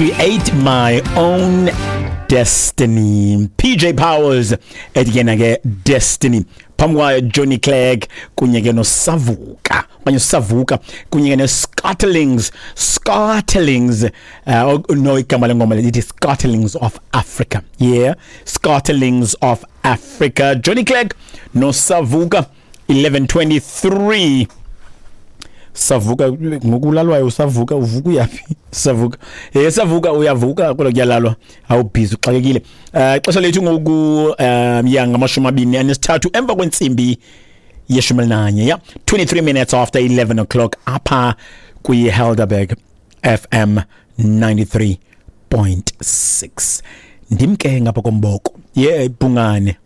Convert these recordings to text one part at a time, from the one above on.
Create my own destiny. PJ Powers ethi yena ke Destiny. Phambi kwayo Johnny Clegg kunye ke noSavuka. Okanye Savuka kunye ke neScottlings. Scottlings. No, igama lengoma lithi Scottlings of Africa. Yeah, Scottlings of Africa. Johnny Clegg noSavuka, 11:23. Savuka ngokulalwayo, usavuka, uvuka uyaphi? Savuka, savuka, uyavuka kodwa kuyalalwa, awubhizi, uxakekile. Ixesha lethu ngoku ya 23 emva kwentsimbi ye-11, ya 23 minutes after 11 o'clock apha kwi-Helderberg FM 93.6. Ndimke ngapha komboko ye bhungane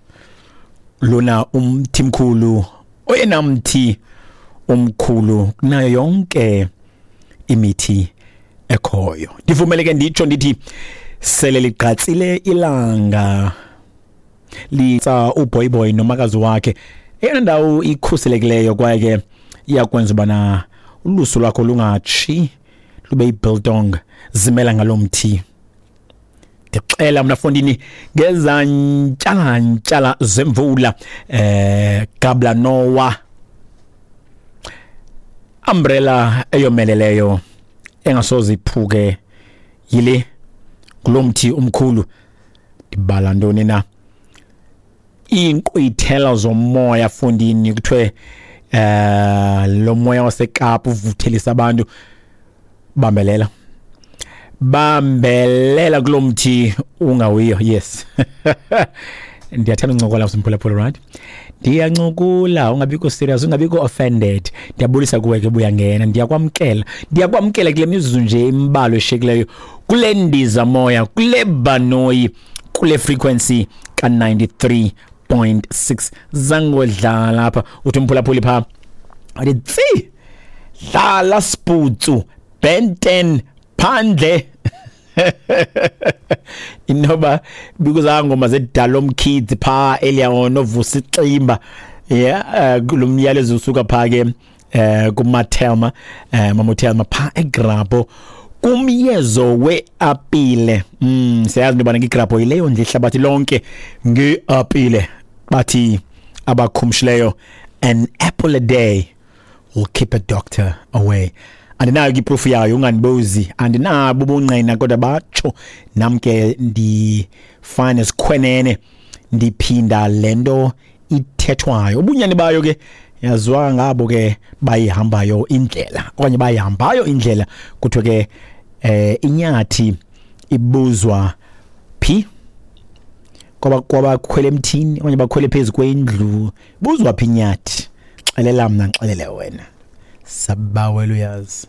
lona umthi mkhulu, oyena mthi omkhulu kunayo yonke imithi ekhoyo. Ndivumeleke nditsho ndithi sele ligqatsile ilanga, litsa uboyboy nomakazi wakhe. Eyona ndawo ikhuselekileyo kwaye ke iyakwenza ubana ulusu lwakho lungatshi lube yibiltong, zimela ngalo mthi. Ndixela mna fondini ngezantyala zemvula, gabla nowa umbrella eyomeleleyo engasoze iphuke yile kulo mthi umkhulu. Ndibala ntoni na? Iinkqwithela zomoya fondini, kuthiwe lo moya waseKapa uvuthelisa abantu. Bambelela, bambelela kulo mthi ungawiyo. Yes, ndiyathanda uncokola, simphulaphula, right? Ndiyancokula, ungabikho serious, ungabikho offended. Ndiyabulisa kuwe ke, buyangena, ndiyakwamkela, ndiyakwamkela kule mizuzu nje imbalwa eshiyekileyo kule ndiza moya, kule banoyi, kule frequency ka-93.6. Zangodlala apha, uthi umphulaphuli phaa, athi tsi dlala siputsu Ben 10 phandle. Inoba bikuzangoma zedalom kids phaa earlier on, ovusa iximba. Yeah, lo myalezo usuka phaa ke kuMathelma, Mamutelma phaa eGrabho kumyezo weapile. Siyazi into yobana igrabho yileyo ndlu ihlabathi lonke ngeapile. Bathi abakhumshileyo, an apple a day will keep a doctor away. Andinayo ke iproof yayo, ungandibuzi, andinabo ubungqina, kodwa batsho, nam ke ndifane sikhwenene, ndiphinda le nto ithethwayo. Ubunyani bayo ke yaziwa ngabo ke bayihambayo indlela, okanye bayihambayo indlela. Kuthiwe ke inyathi ibuzwa phi? Kwabakhwele emthini okanye bakhwele phezu kwendlu, buzwa phi inyathi? Xelela mna, xelele wena, sabawela uyazi.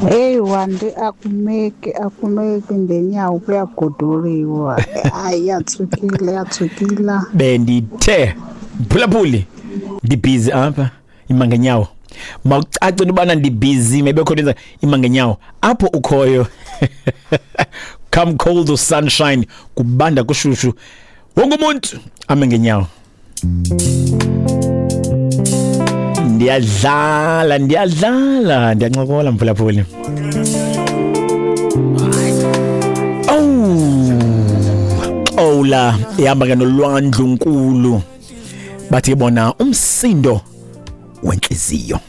Heyi Wandi, akumeki, akumeki ngenyawo, kuyagoduliwa. Hayi, yatsukile, yatsukila. Bendithe mphulaphuli, ndibhizi apha, ima ngenyawo. Mawucace into yobana ndibhizi, maybe khona ima ngenyawo apho ukhoyo. Come cold or sunshine, kubanda kushushu, wonke umuntu ame ngenyawo. Ndiyadlala, ndiyadlala, ndiyancokola mphulaphuli. Oh, xowula ihamba ke nolwandlu nkulu, bathi bona umsindo wentliziyo.